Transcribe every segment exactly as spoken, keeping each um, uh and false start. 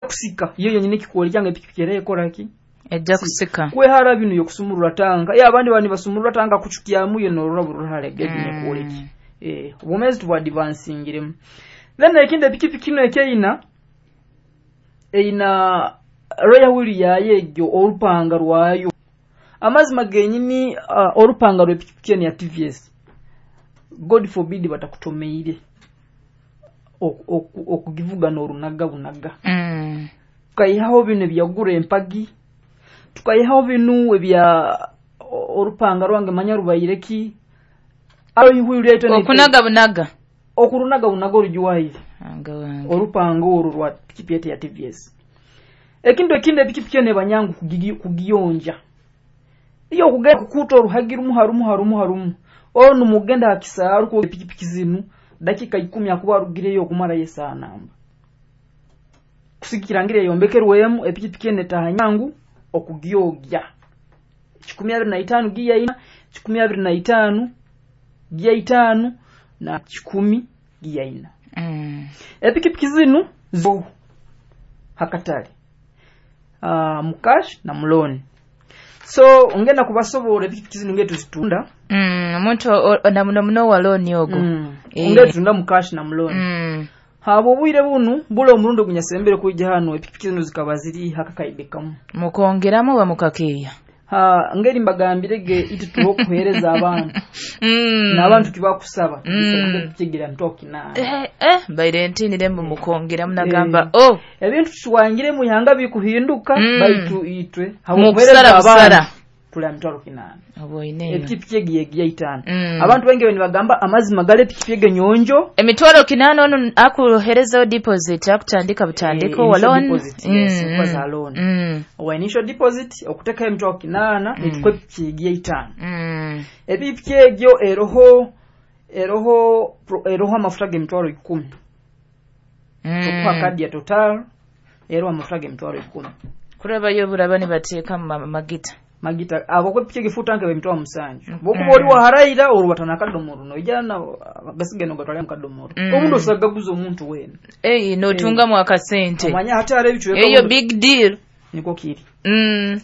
Kusika iyo yonyine kikuolekya nga epikipiki era ekora ki? Ejja kusika. Kwehara bino yokusumurura tanka ye abandi bani basumurura tanka kuchukyamu ye norora bururale gebine mm. Kuoleki eh obumezi tubwa advancingiremu. Then ekindi, epikipiki ino ekeina eina rear wheel yayo egyo, olupanga rwayo, amazima genyini, uh, olupanga rw'epikipiki eno ya T V S, God forbid batakutomeire okugivuga n'orunaga bunaga. Mm. Tukayihaho bino ebyagura empagi, tukayihaho bino ebya olupanga rwange manya rubaire ki. Okunaga bunaga. Okurunaga bunaga orugiwaire olupanga olwo rwa pikipiki ya T V S. Ekintu ekindi, epikipiki eno ebanyangu kugiyonja. Iyo okugenda kukuta oruhagi rumu harumu harumu harumu, onu mugenda hakisaaru ku epikipiki zinu dakika ikumi akuba arugireyo okumarayo esaaha namba kusigikira yombekerwemu. Epikipiki eno etaha nyangu okugyogya. Kikumi abiri na itaano giya ina, kikumi abiri na itaano giya itaano na kikumi giya ina. Mm. Epikipiki zinu zo hakatale uh, mu cash na mu loan, so ngenda kubasobola epikipiki zinu ngetu zitunda. Mm, omuntu na muno muno wa loan ogo. mm. e. Ngetu tunda mu cash na mu loan. mm. Habo obwire bunu bula omurundi ogunyasembere kwijja hano, epikipiki zinu zikaba ziri hakakaide kamu. Mukongeramu oba mukakeeya? Ha, ngeri mbagambirege iti tuho kuhereza abantu mm. n'abantu tibakusaba mm. kigira mitwalo kinaana. Eh, eh, mbaire ntiinire mbu mukongeramu, nagamba eh. Oh, ebintu tuwangire mu ihanga bikuhinduka. Mm. Baitu itwe mukusara busara. Tuli mitwalo kinaana. Oba oineyo epikipiki egi yegiya itaano. Mm. Abantu baingi nibagamba amazima gale epikipiki ege nyonjo. Emitwalo kinaana, ono akuherezaho deposit, akutandika butandika Eh, owa initial loan. Deposit, yes, nkuba za loan. Mm. Owa initial deposit okutekayo emitwalo kinaana, Mm. nitukuha epikipiki egiya itaano. Mm. Epikipiki egyo eroho eroho eroho amafuta g'emitwalo ikumi. Mm. Tukuha kadi ya Total eroho amafuta g'emitwalo ikumi. Kurabayo buraba nibateeka mu ma- magita. Magita abo ko epikipiki egifuta nke emitwalo musanju. Mm. Bwokuba oli waharaira olwo batana akadomoro noijana gasigaye nogatwala mu kadomoro. Mm. Omundu osagaguza omuntu wena. Ei, notungamu akasente. Omanya hati hariho ebicweka. Eyo big deal. Niko kiri. Mm.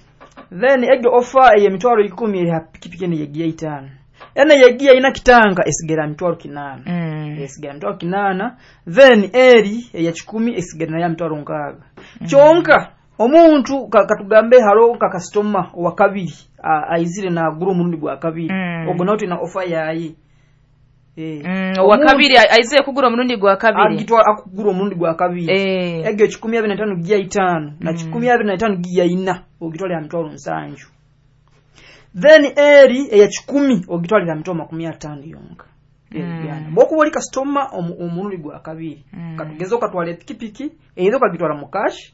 Then egyo offer ey'emitwalo ikumi eri ha pikipiki eno yegiya itaano. Eno yegiya ina kitanka esigara mitwalo kinaana. Mm. Esigara mitwalo kinaana. Then eri eya kikumi esigara nayo mitwalo nkaaga. Kyonka omuntu ka- katugambe haro ka kasitoma owa kabiri a- aizire nagura omurundi gwa kabiri, Mm. ogwo nawe tulina offer yaye. Eh. Mm, owa Omuntu kabiri aize kugura omurundi gwa kabiri. Agitwala akugura omurundi gwa kabiri, Eh. egyo kikumi abiri na itaano giya itaano na Mm. kikumi abiri na itaano giya ina ogitwalira mitwalo nsanju. Then eri eya kikumi ogitwalira mitwalo makumi ataano yonka. Mm. Mm. Bwokuba oli kasitoma omu- omurundi gwa kabiri, Mm. katugeze okatwala epikipiki either okagitwala mu cash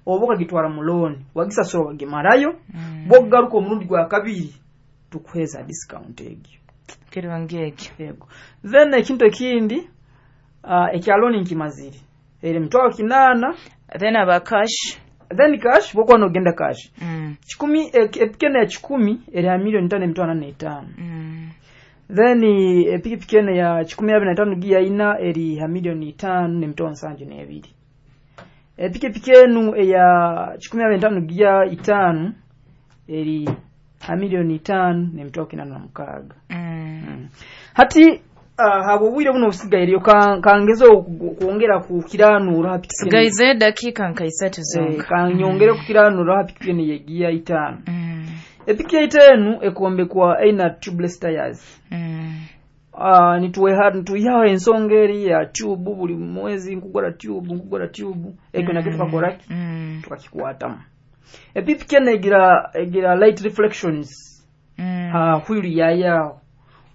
oba okagitwala mu loan, wagisasula wagimarayo, Mm. bwokugaruka omurundi gwa kabiri tukuheza discount egyo. Kirungi ekyo. Yego. Then ekintu ekindi, uh, ekya loan nkimazire, eri mitwalo kinaana. Then aba cash? Then cash, bwokuba nogenda cash, Mm. kikumi epiki eno ya kikumi eri ha miliyoni tano emitwalo ana n'etaano. Mm. Then epikipiki eno ya kikumi abiri na itaano giya ina eri ha miliyoni itaano n'emitwalo nsanju n'ebiri. Epikipiki enu eya kikumi abiri na itaano giya itaano eri ha miliyoni itaano n'emitwalo kinaana na mukaaga. Mm. Mm. Hati uh, haba obwire buno obusigaireyo kangeze okwongera kukiranura ha pikipiki eno. Sigaize dakiika nka isatu Eh, zonka. Kanyongere kukiranura ha pikipiki eno yegiya itaano. Mm. Epiki itaano ekombekwa eina tubeless tires. Mm. uh, nituweha nituihaho ensonga eri ya tube, buli mwezi nkugura tube, nkugura tube, ekyo nakyo tukakoraki? Mm. Tukakikwatamu. Epipiki eno egira egira light reflections Mm. ha wheel yayaho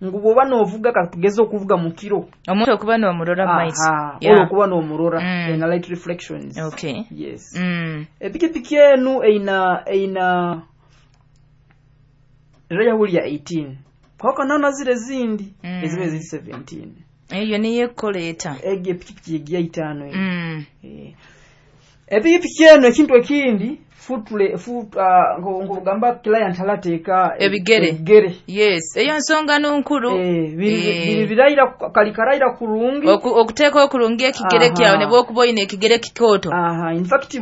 ngu bwoba novuga, katugeze okuvuga mu kiro, omuntu okuba n'omurora mu maiso. Aha, Yeah. olwo okuba n'omurora. Mm. Ena light reflections. Okay. Yes. Mm. Epikipiki enu eina eina rear wheel ya eighteen, kwawukana zire zindi Mm. eziba ziri seventeen. Eyo niyo ekoleeta. Egyo epikipiki egiya itaano eyo. Mm. Eh. Epikipiki eno ekintu ekindi futle foot uh, ngogamba client alateeka Ebigere. Ebigere. Yes, eyo nsonga nunkulu. Eh, biri Eh. biri birayira kali karayira kurungi. Oku- okuteeka okulungi ekigere Aha. kyawe ne bwokuba oyina ekigere kikooto. Aha, in fact.